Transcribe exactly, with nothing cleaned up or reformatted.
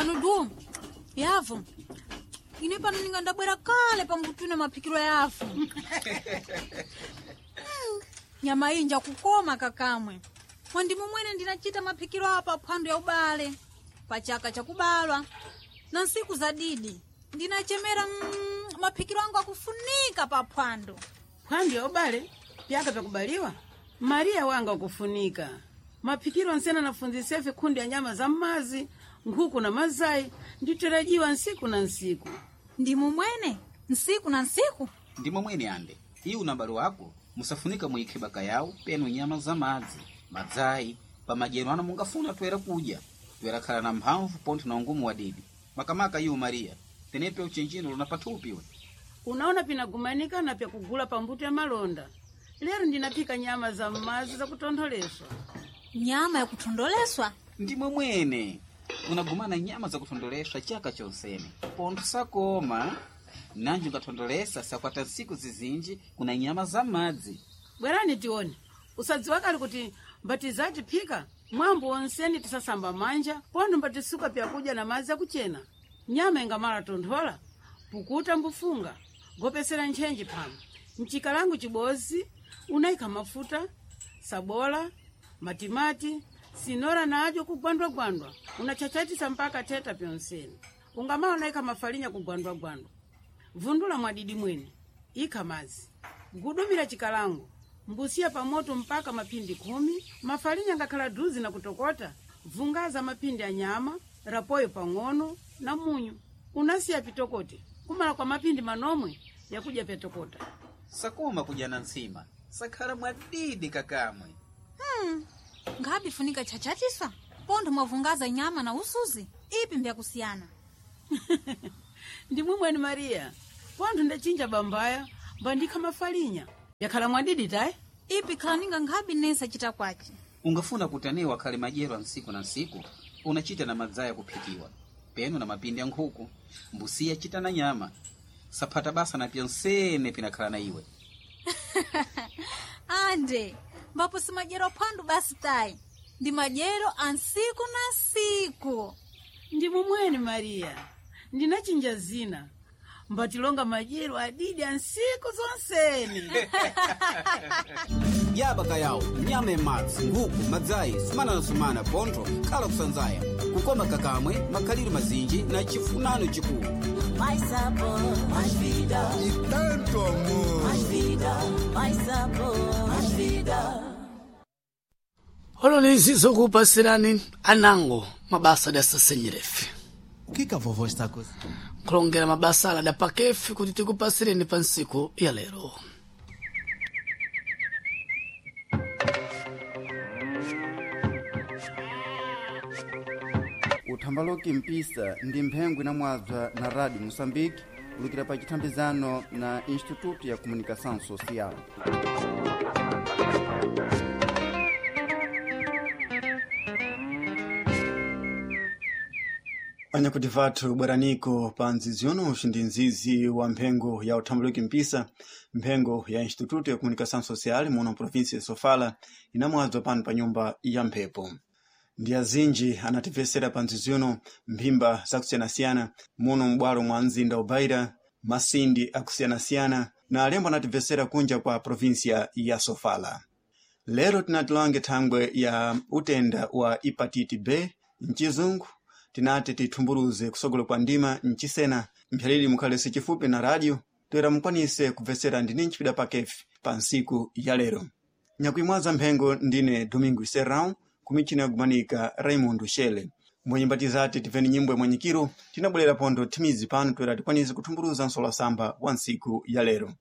Manudu yavo ine pano ninga ndabwera kale pambutune maphikiro yavo. Mm, nyama iyi njakukoma kakamwe mwandimu mwene ndinachita maphikiro apa phwando ya ubale pachaka chakubalwa na nsiku za didi ndinachemera mm, maphikiro angu akufunika pa phwando. Phwando ya ubale pyaka pyakubaliwa Mariya wanga ukufunika maphikiro nsena nafunzisefe khundi ya nyama za mmazi, nkhuku na mazayi nditerajiwa nsiku na nsiku. Ndimu mwene nsiku na nsiku. Ndimo mwene ande iwu na balo wako musafunika muikhe baka yawo penu nyama za madzi madzayi pamadyero ano mungafuna toera kudya toera khala na mphamvu pontho na ungumu wadidi makamaka iwu Mariya tenepe uchenjino luna pathupi we. Unaona pinagumanika na pyakugula pambuto ya malonda lero ndinaphika nyama za mmazi zakutontholeswa. Nyama yakuthondoleswa? Ndimwe mwene unagumana nyama zakuthondoleswa chaka chonsene pontho sakoma nanji ungathondolesa sakwata nsiku zizinji kuna nyama za madzi. Bwerani tione usadziwa kali kuti mbatizati phika mwambo wonseni tisasamba manja pontho mbatisuka pyakudya na madzi akuchena. Nyama ingamala tonthola pukuta mbufunga gopesera ntchenji phama mchikalangu chibozi unayikha mafuta sabola matimati sinora nadyo kugwandwagwandwa unachachatisa mpaka teta pyonseni ungamala unayikha mafalinya kugwandwagwandwa vundula mwadidi mwene ikha madzi gudumira chikalango mbusiya pamoto mpaka mapindi khumi mafalinya ngakhala duzi na kutokota vungaza mapindi a nyama rapoyo pang'ono na munyu unasiya pitokote kumala kwa mapindi manomwe yakudya pyatokota. Sakoma kudya na nsima sakhala mwadidi kakamwe. Hmm, ngabi funika chachatiswa pontho mwavungaza nyama na usuzi ipi mbyakusiyana. Ndimwe mwene Mariya pontho ndachinja bambaya mbandikha mafalinya yakhala mwadidi tayi. Ipi khalaninga nkhabi nesa chita kwachi. Ungafuna kuti anewo akhale madyero a nsiku na nsiku unachita na madzaya kuphikiwa peno na mapindi a nkhuku mbusiya chita na nyama saphata basa na pyonsene pinakhala na iwe. Ande mbapo si madyero aphwandu basi tayi ndi madyero a nsiku na nsiku. Ndimwe mwene Mariya ndinachinja zina mbatilonga madyero adidi a nsiku zonsene. Yaba yawo nyama yamadzi, nkhuku, madzayi, sumana na sumana pontho khala kusanzaya kukoma kakamwe makhaliro mazinji na chifunano chikulu. Mais sabor, mais vida. E tanto amor. Mais vida, mais sabor, mais vida. Olonezi zokupasirani anango mabasa dasasenyerefe. O que que a vovó está cozinhando? Nkulongera mabasa ala dapakefe kuti tikupasireni pa nsiku ya lero. Uthambaloki mpisa ndi mphengo inamwabza na Rádio Moçambique kulukira pa chithambizano na Instituto ya Comunicação Social. Anyakuti vathu bweraniko pa nzizi yonoxi ndi nzizi wa mphengo ya uthambaluki mpisa, mphengo ya Instituto ya Comunicação Social muno província ya Sofala inamwadzwa pano pa nyumba ya mphepo. Ndi azinji anatibvesera pa nzizi uno mphimba zakusiyanasiyana muno m'bwalo mwa mzinda wa Beira, masindi akusiyanasiyana na alembo anatibvesera kunja kwa província ya Sofala. Lero tinatilange thangwe ya utenda wa hepatite B mchizungu tinati tithumburuze kusogolo kwa ndima mchisena mphyalili mukhalese chifupi na radio toera mukwanise kubvesera ndini nchipida pakefi pa nsiku ya lero. Nyakuimwaza mphengo ndine Domingo Serrão kumichina yakumanika Raimundo Shele. Mbwenyimbatizati tipeni nyimbo ya mwanyikiro tinabwerera pondo thimizi pano toera tikwanise kuthumburuza nsolasamba wa nsiku ya lero.